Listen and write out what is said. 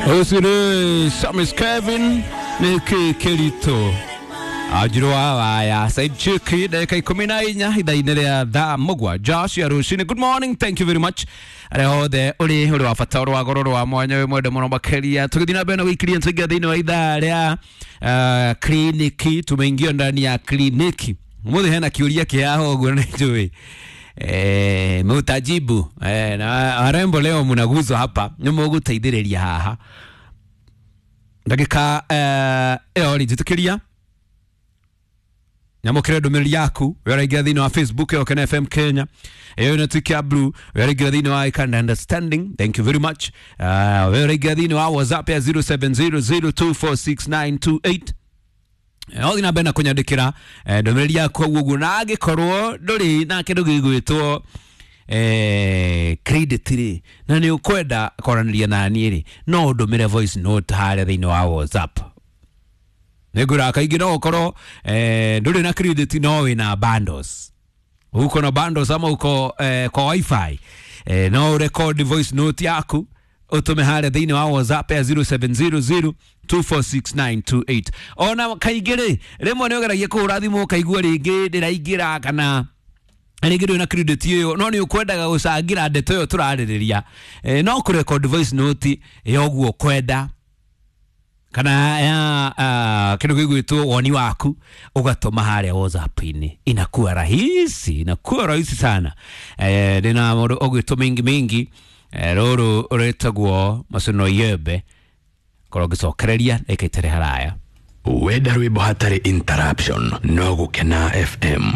Ũcio Samis Kevin nĩ kĩ kĩritũ anjirwo waya Said Chiki ndagĩka 14 ithaa-inĩ rĩa thaa 7 cia rũcinĩ. Good morning, thank you very much arĩa othe ũrĩ ũrĩ wa bata, ũrĩ wa goro, ũrĩ wa mwanya, wĩ mwende mũno makĩria. Tũgĩthiĩ na mbere na gũikĩria, tũingĩra thĩinĩ wa ithaa rĩa kliniki. Tumeingia ndani ya kliniki mũthĩ, hena kĩũria kĩaho ũguo nĩ njũĩ mutajibu na warembo leo mnaguzwa hapa, nĩ mũgũteithĩrĩria haha ndagĩka ĩyo rĩ njĩtĩkĩria nyamũkĩre ndũmĩrĩri yaku. We ũraingĩra thĩinĩ wa Facebook ĩyo Kena FM Kenya, ĩyo ĩno tuĩke ya blue. We ũraingĩra thĩinĩ wa Ikanda Understanding, thank you very much. We ũraingĩra thĩinĩ wa WhatsApp ya 0700246928, no thiĩ na mbere na kũnyandĩkĩra ndũmĩrĩri yaku hau ũguo, na angĩkorwo ndũrĩ na kĩndũ gĩgwĩtwo credit rĩ, na nĩ ũkwenda kwaranĩria na niĩ rĩ, no ũndũmĩre voice note harĩa thĩinĩ wa WhatsApp. Nĩngwĩra kaingĩ no ũkorwo ndũrĩ na credit no wĩna bundles, uko na bundles ama uko kwa wifi, no record voice note yaku utume harĩa thĩinĩ wa WhatsApp ya 0700 246928. Ona kaingĩ rĩ, rĩmwe nĩ ũgeragia kũhũra thimũ ũkaigua rĩngĩ ndĩraingĩra, kana rĩngĩ ndũrĩ na credit ĩyo, no nĩ ũkwendaga gũcangĩra ndeto ĩyo tũrarĩrĩria, no kũrecord voice note ya ũguo ũkwenda kana ya kĩndũ gĩgwĩtwo woni waku, ũgatũma harĩa WhatsApp-inĩ, inakuwa rahisi, inakuwa rahisi sana. Ndĩna mũndũ ũgwĩtwo mingi mingi, rũrũ rwĩtagwo Macuno Yembe, korwo ngĩcokereria ndagĩka itarĩ haraya. Wenda rwĩmbo hatarĩ interruption no Gũkena FM.